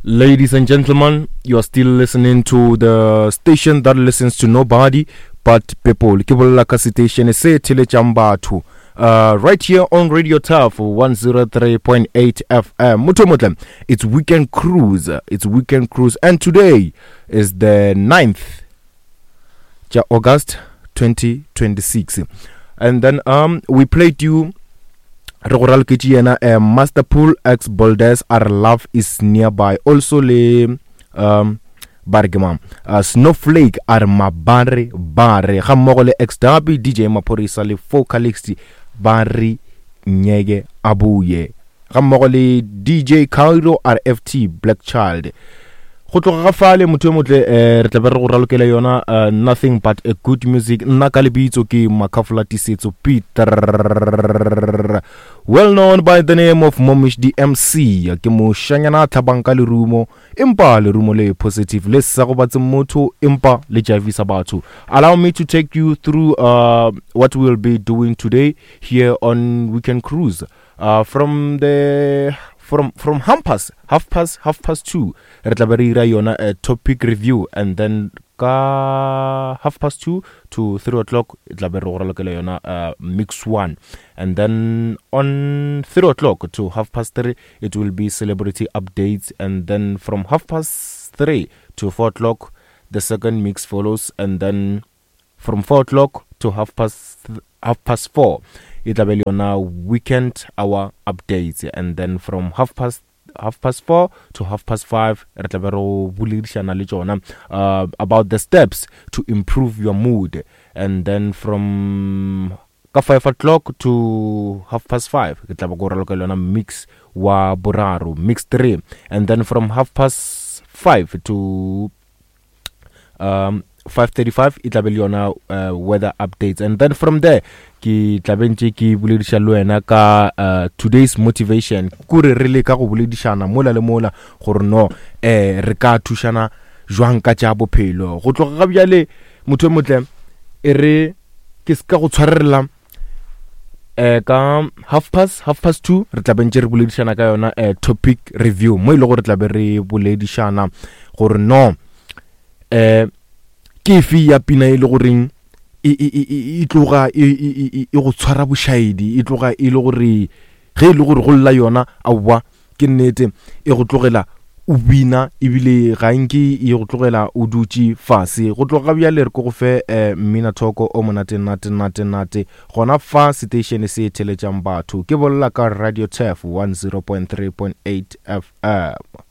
Ladies and gentlemen, you are still listening to the station that listens to nobody but people. Ke bolela ka station se theletšang batho. Uh, right here on Radio Turf 103.8 FM. Motho motle, it's Weekend Cruise. It's Weekend Cruise and today is the 9th tša August 2026. And then um we played you re go raloketše yena uh, Master Pool X Boldes a re love is nearby also le um ba re ke mang uh, Snowflake a re mabare bare ga mmogo le X Derby DJ Maphorisa le Focalix ba re nyeke a buye ga mmogo le DJ Cairo a re FT Black Child go tloga ga fale motho yo motle um re tlabe re go ralokela yona uh, nothing but a good music nna ka lebitso ke makhafola tisetso peter well known by the name of momish dmc ke mošanyana a tlhabang ka lerumo empa lerumo le positive le sa gobatse motho empa le javisa batho allow me to take you through uh, what we will be doing today here on weekend cruise uh, from the from from half past half past half past two re tla be re ira yona a topic review and then ka half past two to three o'clock e tla be re go ralokela yona uh, mix one and then on three o'clock to half past three it will be celebrity updates and then from half past three to four o'clock the second mix follows and then from 4 o'clock to half past half past 4 e tla be le yona weekend hour updates and then from half past half past 4 to half past 5 re tla be re boledišana le tšona uh, about the steps to improve your mood and then from ka 5 o'clock to half past 5 ke tla ba ko raloka le yona mix wa boraro mix 3 and then from half past 5 to um 5:35 e tlabe le yona uh, weather updates and then from there ke tlabe ntse ke bolediša le wena ka uh, today's motivation kore re le ka go boledišana mola le mola gore no eh re ka thušana jwang ka tša bophelo go tloga ga bjale motho e motle e re ke se ka go tshwarela eh ka half past half past two re tla bentse re boledišana ka yona eh, topic review mo e le gore tla be re boledišana gore no eh ke efe ya pina e le goreng e, e, e, e tloga e go tshwara bošaedi e tloga e le gore ge e le gore go lla yona aowa Ke nnete, e go tlogela o bina ebile ga nke e go tlogela o dutše fase. Go tloga bjale re ko go fe eh, mminathoko o monate nate nate nate gona fa seteišene se theletšang batho. Ke bolela ka Radio Turf 100.3.8 FM.